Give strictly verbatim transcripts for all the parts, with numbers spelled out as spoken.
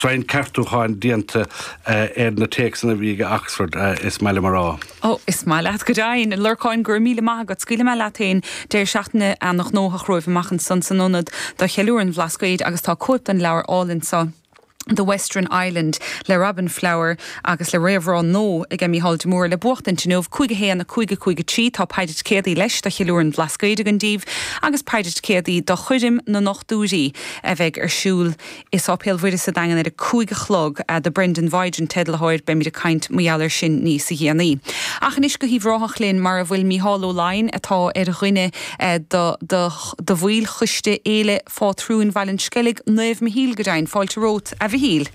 Roinnt ceartúcháin déanta ar na téacsanna a bhí ag Oxford is maith liom a rá. Ó is maith leat go deimhin Lorcáin gur míle maith agat scaoilfidh mé leat féin deireadh seachtaine an-ghnóthach romhaibh amach ansan san ionad do cheiliúradh an Bhlascaoid agus tá cóip den leabhar álainn seo. The Western Island le Robin Flower agus le réamhrá nua ag Mícheál de Mór le buachtaint inniu cúig a haon a cúig a cúig a trí tá paide ticéadaí leis do cheiliúradh an Bhlascaoid againn daoibh agus paide ticéadaí do choirm na nDochtúirí a bheidh ar siúl i Séipéal Mhuire sa Daingean ar a cúig a chlog do Brendan Vige an teidealthóir beimid ag caint mar gheall air sin níos déanaí. Ach anois go hUíbh Ráthach linn mar a bhfuil Mícheál Ó Laighin atá ar dhuine do do bhaill choiste Fhéile Phátrúin Bhaile an Sceilg Naomh Michíl go deimhin fáilte romhat a Mhichíl.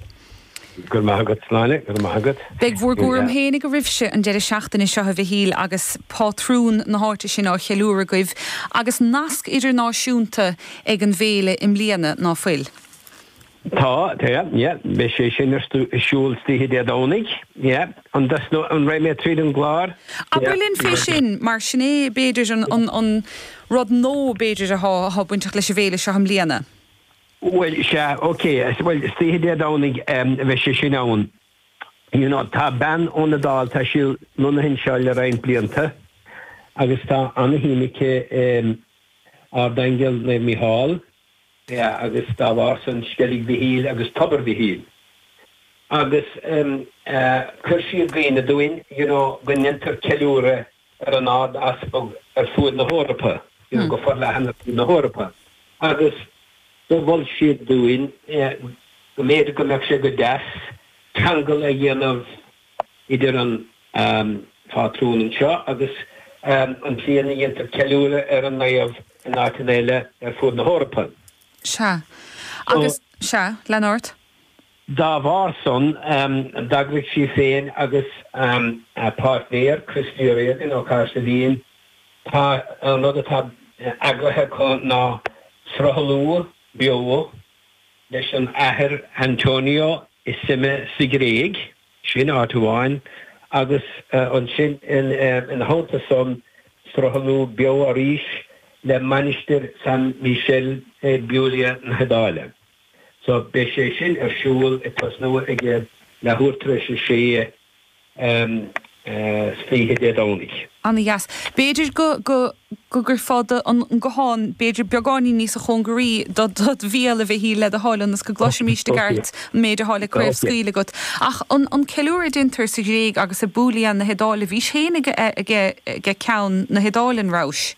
Gur maith agat Sláine, gur maith agat. Beidh bhur gcúram féinig oraibhse an deireadh seachtaine seo a Mhichíl agus pátrún na háite sin á cheiliúradh agaibh agus nasc idirnáisiúnta ag an bhféile i mbliana ná fuil. Tá tá yeah, beidh sé sin ar siúl oíche Dé Domhnaigh, yeah, an an raibh mé tríd an gclár. Abair linn fé sin mar sin é b'fhéidir an, an, an rud nua b'fhéidir atá atá bainteach leis an bhféile seo i mbliana. Well sea ok well oíche Dé Domhnaigh bheidh sé sin ann. You know, tá bean ón Iodáil tá sí lonnaithe anseo le roinnt blianta agus tá an-shuim aici um, Ardaingeal Naomh Mícheál yeah, agus dá bharr san Sceilg Mhichíl agus Tobar Mhichíl. Agus um, uh, chuir sí i gcuimhne dúinn you know, go ndéantar ceiliúradh ar an Ard-Easpag ar fud na hEorpa, you know, mm. go forleathan ar fud na hEorpa. Agus do mhol siad dúinn go mb'fhéidir go mbeadh sé go deas ceangal a dhéanamh idir an um, phátrún anseo agus um, an tslí a ndéantar ceiliúradh ar an naomh in áiteanna eile ar fud na hEorpa. Sea. Agus sea, lean ort? Dá bharr san um, d'eagraigh sí féin agus um, a páirtnéir Christy Regan ó Cahersiveen tá an rud atá eagraithe acu ná sruthlú beo leis an athair Antonio i Symi sa Ghréig, sin áit amháin, agus uh, ansin in, uh, ina theannta san sruthlú beo arís le Mainistir San Michel i Puglia na hIodáile. So beidh sé sin ar siúl ag tosnú ag leathuair tar éis a sé um, uh, oíche Dé Domhnaigh. An-dheas. B'fhéidir go go go gcuirfeá an guthán b'fhéidir beagáinín níos cóngaraí do do bhéal a Mhichíl le do thoil ionas go gcloisfimid i gceart an méid atá le craobhscaoileadh agat. Ach an an ceiliúradh a déantar sa Ghréig agus i Puglia na hIodáile bhís féin ag ag ceann na hIodáile an rabhais.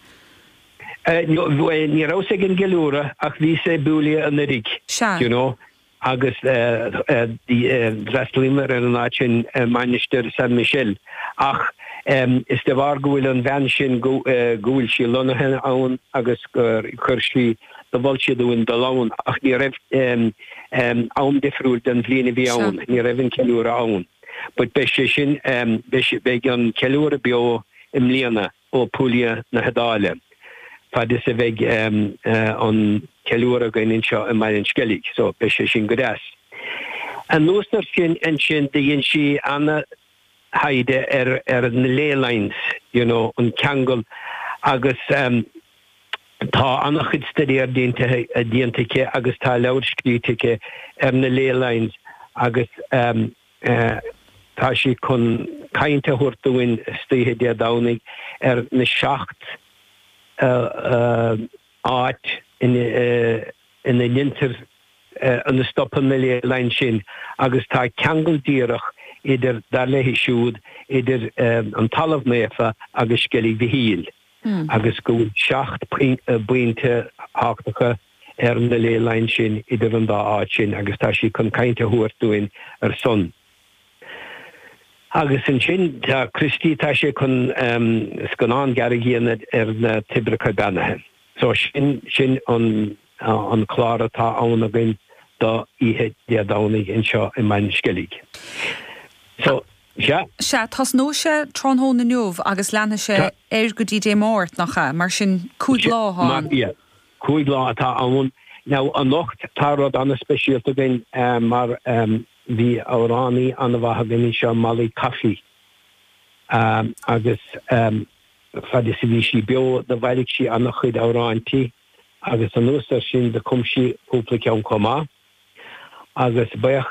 Ní rabhas ag an gceiliúradh ach bhíos i Puglia anuraidh you know agus d'fhreastalaíomar ar an áit sin Mainistir San Michel ach um, is de bharr go bhfuil an bhean sin go bhfuil sí lonnaithe ann agus gur chuir sí do mhol sí dúinn dul ann ach ní raibh um, um, am difriúil den bhliain a bhí ann, ní raibh an ceiliúradh ann. But beidh sé sin um, beidh an ceiliúradh beo i mbliana ó Puglia na hIodáile. Fad is a bheidh um, uh, an ceiliúradh againn anseo i mBaile an Sceilg, so beidh sé sin go deas. Anuas air sin ansin dhein sí an-taighde ar ar na ley lines, you know, an ceangal agus um, tá an-chuid staidéar déanta déanta aici agus tá leabhar scríte aici ar na ley lines agus um, uh, tá sí chun caint a thabhairt dúinn oíche Dé Domhnaigh ar na seacht uh, uh, áit ina uh, ina ndéantar uh, ina stopann na ley lines sin agus tá ceangal díreach idir dar léi siúd idir um, an talamh naofa agus Sceilg Mhichíl mm. agus go bhfuil seacht bpointe tábhachtacha ar na ley lines sin idir an dá áit sin agus tá sí chun caint a thabhairt dúinn ar son. Agus ansin tá Christy tá sé chun um, scannán gearr a dhéanamh ar na toibreacha beannaithe. So sin sin an uh, an clár atá ann againn do oíche Dé Domhnaigh anseo i mBaile an Sceilg. So sea. Sea, tosnóidh sé tráthnóna inniu agus leanfaidh sé air go dtí Dé Máirt nach ea, mar sin cúig lá ann. Cúig lá atá ann. Now anocht tá rud an-speisialta againn um, mar um, bhí amhránaí an-mhaith againn seo Molly Coffey. Um, agus um, fad is a bhí sí beo do bhailigh sí an-chuid amhráintí agus anuas air sin do chum sí cúpla ceann chomh maith. Agus buíochas